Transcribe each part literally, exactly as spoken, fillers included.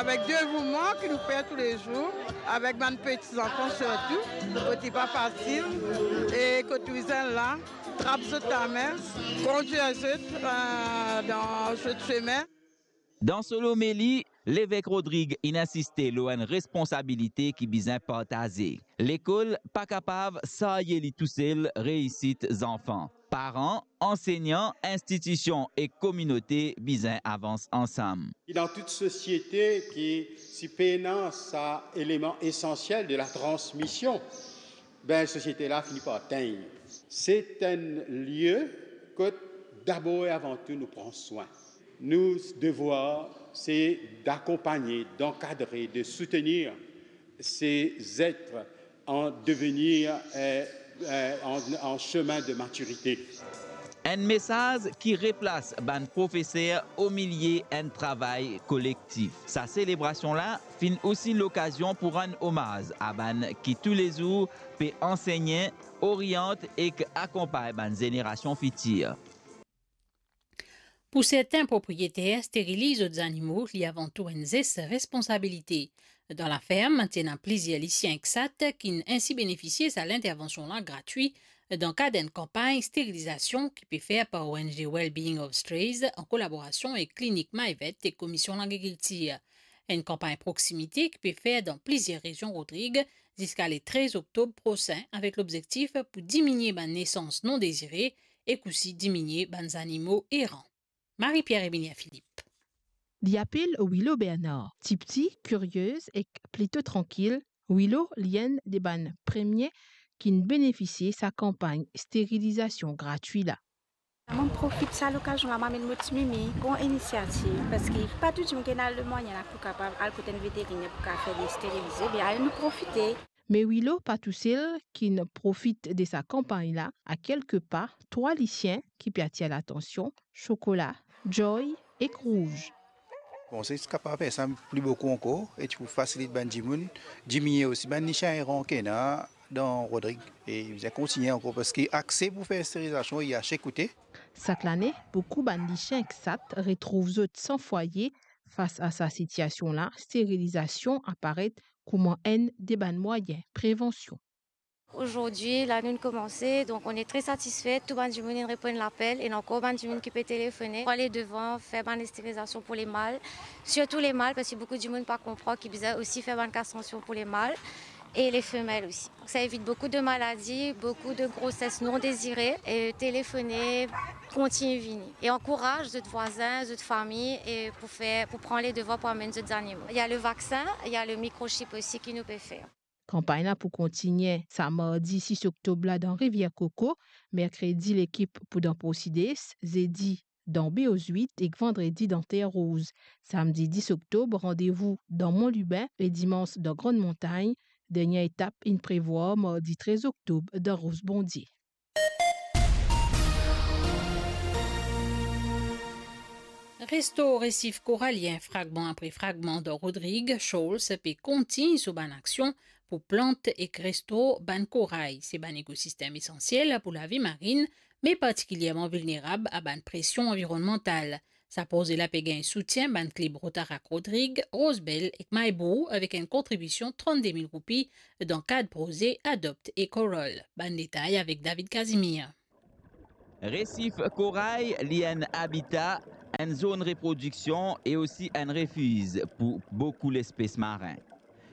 Avek devouman ki nou fer toulezour, avek bann peti zanfan sirtou, kot li pa fasil, e kot nou bizin la, trap zot lame, kondir zot, eh, dan zot sime. Dan so lomeli, Levek Rodrig inn insiste lor enn responsabilite ki bizin partaze. Lekol pa kapav sarye li tousel reisit zanfan. Paran, ansegnan, institision ek kominote bizin avans ansam. Dan tout sosiete ki si pena sa eleman esansiel de la transmision, ben, sosiete la fini par tegn. Se enn lie kot dabor e avan tou nou pran swin. Nou devwar, se d'akonpagne, d'ankadre, de soutenir se zet an devenir, eh, eh, an, an semin de matirite. Enn mesaz ki replas bann profeser omilie enn travay kolektif. Sa selebrasion la finn osi lokazion pou rann omaz a bann ki toulezour pe ansegne, oriant ek akonpagn bann zenerasion fitir. Pou sertin propriyeter, steriliz zot zanimo, li avan tou enn zes responsabilite. Dan laferm, ti ena plizier lisien ek sat ki'nn ensi benefisie sa lintervansion la gratwi dan kad enn kanpagn sterilizasion ki pe fer par O N G Wellbeing of Strays an kolaborasion ek Klinik Maïvette ek Komisyon Lagrikiltir. Enn kanpagn proksimite ki pe fer dan plizier rezion Rodrig ziska le trez oktob prosin, avek lobzektif pou diminie bann nesans non dezire ek osi diminie bann zanimo eran. Marie-Pierre Emilien Philippe. Li apel Willow Bernard. Tipti, kirie ek plito trankil, Willow li enn de bann premie ki'nn benefisie sa kanpagn sterilizasion gratwi la. Mo profit sa lokazion la, mo amenn mo ti mimi, gran inisiativ, parski pa tou dimoun ki ena lemwayen la pou kapav al kot enn veteriner pou kapav fer li sterilize, be ale nou profite. Me Willow pa tousel ki'nn profit de sa kanpagn la, a kelke pa, trwa lisien ki pe atir latansion, Sokola, Joy ek Rouz. Bon, si ti kapav fer sa pli boukou ankor, e ti pou fasilit bann dimoun, diminie osi bann lisien eran ki ena dan Rodrig. E bizin kontinie ankor, parski akse pou fer sterilizasion, li ase koute. Sak lane, boukou bann lisien ek sat retrouv zot san fwaye. Fas a sa sitiasion la, sterilizasion aparet kouma enn de bann mwayin prevansion. Aujourd'hui, la, nou'nn koumanse, donk on est très satisfait. Tou bann dimoun inn reponn lapel, e ankor bann dimoun ki pe telefone. Pou ale devan, fer bann sterilizasion pou le mal, sirtou le mal, parski boukou dimoun pa konpran ki bizin osi fer bann kastrasion pou le mal e le femel osi. Donk sa evit boukou de maladi, boukou de groses non dezire. E telefone, kontign vini e ankouraz zot vwazin, zot fami, e pou fer, pou pran le devwar pou amenn zot zanimo. Il y a le vaccin, il y a le microchip aussi ki nou pe fer. Kanpagn la pou kontinie sa mardi sis oktob la dan Rivier Coco, merkredi lekip pou dan Porsides, zedi dan Baie aux Huîtres ek vandredi dan Terre Rose. Samdi dis oktob, randevou dan Mont Lubin e dimans dan Grande Montagne. Dernie etap inn prevwar mardi trez oktob dan Ros Bondie. Resto Resif Koralien, fragman apre fragman dan Rodrig, Shoals pe kontign so bann aksion pou plant ek restore bann koray. Se bann ekosistem esansiel pou lavi marin, me partikilierman vilnerab a bann presion anvironnmantal. Sa proze la pe gagn soutien bann klib Rotaract Rodrig, Rose Belle ek Maibou avek enn kontribision trannde mil roupi dan kad proze Adopt a Coral. Bann detay avek David Casimir. Resif koray, li enn abita, enn zonn reprodiksion e osi enn refiz pou boukou lespes marin.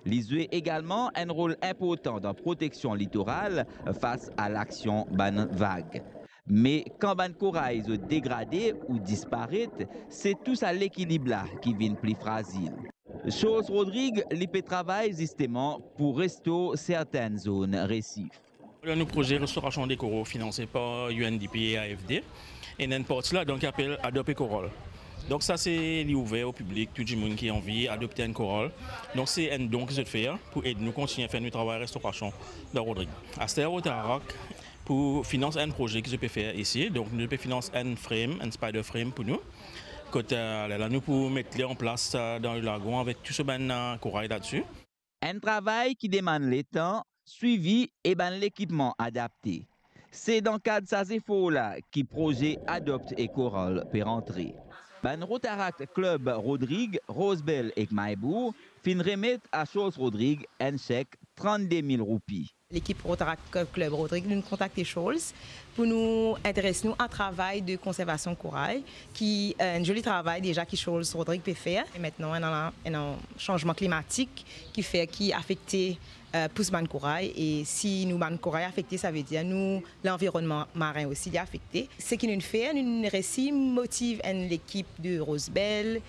Li zwe egalman enn rol inportan dan proteksion litoral fas a laksion bann vag. Me kan bann koray zot degrade ou disparet, se tou sa lekilib la ki vinn pli frazil. Shoals Rodrig, li pe travay zisteman pou restore sertenn zonn resif. Dan nou proze restorasion de koral finanse par U N D P e A F D, ena enn parti ladan ki apel Adopt a Coral. Donk sa se, li ouver o piblik, tou dimoun ki anvi adopte enn koral. Donk se enn don ki zot fer pou ed nou kontigne fer nou travay restorasion dan Rodrig. Aster Rotaract pou finans enn proze ki zot pe fer isi, donk nou pe finans enn frame, enn spider frame pou nou. Kot, eh, lerla nou pou met li an plas, eh, dan lagon avek tou so bann, eh, koray ladsi. Enn travay ki demann letan, swivi e bann lekipman adapte. Se dan kad sa zefor la ki proze Adopt a Coral pe rantre. Bann Rotaract Club Rodrig, Rosebel ek Maybour finn remet a Charles Rodrig enn sek trannde mil roupi. Lekip Rotaract Club Rodrig, nou kontakte Charles pou nou interes nou a travay de konservasion koray, ki, eh, enn zoli travay deza ki Charles Rodrig pe fer. E aster ena, ena sanzman klimatik ki fer ki afekte, eh, pous bann koray. E si nou bann koray afekte, savedir nou lanvironnman marin osi li afekte. Seki nou fer, nou resi motiv enn lekip de Rosebel,